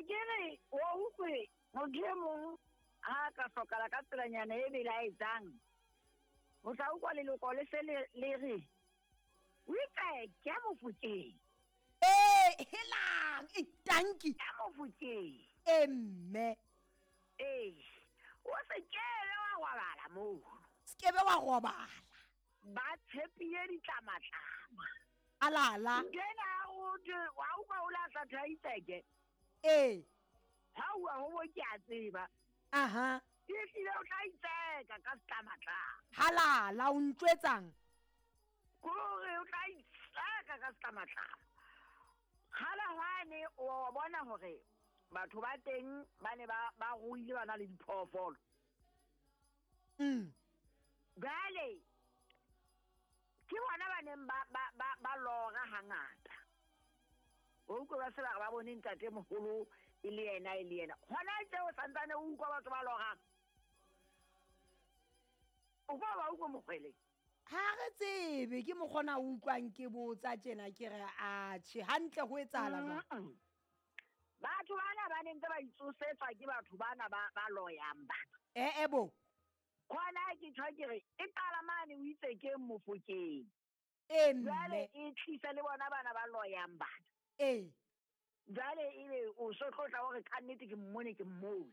ke re wa utlwe motho e mong ha a ka hlokala ka tselanyana e belaetsang, o tla utlwa leloko le se le re o itse ke Mofokeng. Ee, helang, e tanki. Ke Mofokeng. Ee, mme. Ee, o se kebe wa robala moo. Se kebe wa robala. Ba tshepile ditlamatlama. Alala. Nkena o thwe wa utlwa o lahla thaitseke. Ee. Ha ua ho bo ke a tseba. Aha. Ehlile o tla itseka ka setlamatlama. Halala o ntjwetsang? Kore o tla itseka ka setlamatlama. Kgale hwane o bona hore batho ba teng ba ne ba ba ruile ba na le diphoofolo. Jwale ke bona ba neng ba ba ba ba lora hangata. O utlwe ba se ba re ba bone ntate moholo e le yena e le yena. Hona tje o santsane o utlwa batho ba lorang. O kwa ba utlwe mokgwele. Ha re tsebe ke mokgona o utlwang ke botsa tjena ke re atjhe hantle ho etsahala jwang? Batho bana ba ne ntse ba itsosetswa ke batho bana ba ba loyang bana. Eh eh bo. Khona ke tjho ke re e qala mane o itse ke Mofokeng. Ee mme. Jwale e tlisa le bona bana ba loyang bana. Ee. Jwale ebe o so tlo tla o re ka nnete ke mmone ke mmone.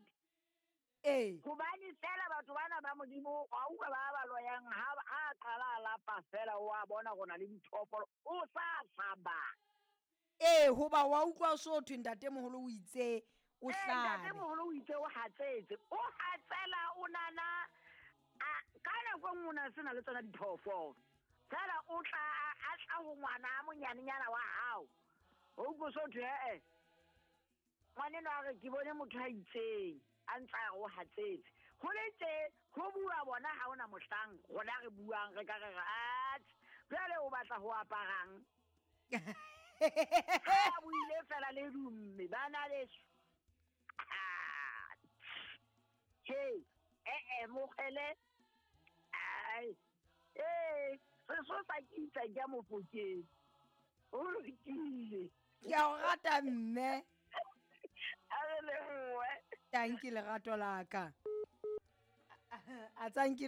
Ee. Hobane fela batho bana ba Modimo wa utlwa ba ba loyang ha ha qala a lapa fela o a bona go na le diphoofolo o sa hlaba. Ee, hoba wa utlwa o so thwe ntatemoholo o itse o Ee, hlabe. ntatemoholo o itse o hatsetse. O hatsela o nana a ka nako e nngwe o na se na le tsona diphoofolo. Fela o tla a tla ho ngwana a monyanenyana wa hao. O utlwe so thwe ee. Ngwaneno a re ke bone motho a itseng a ntse a re o hatsetse. Ho le tje ho bua bona ha hona mohlang rona re buang re ka re re atjhe jwale o batla ho aparang. Ha buile fela le dumme bana beso. Hey, eh eh mokgele. Ai. Eh, sesosa ke itsa ke Mofokeng. O lokile. Ke a o rata mme. A re lebohe. Tanki lerato la ka. A tsanki.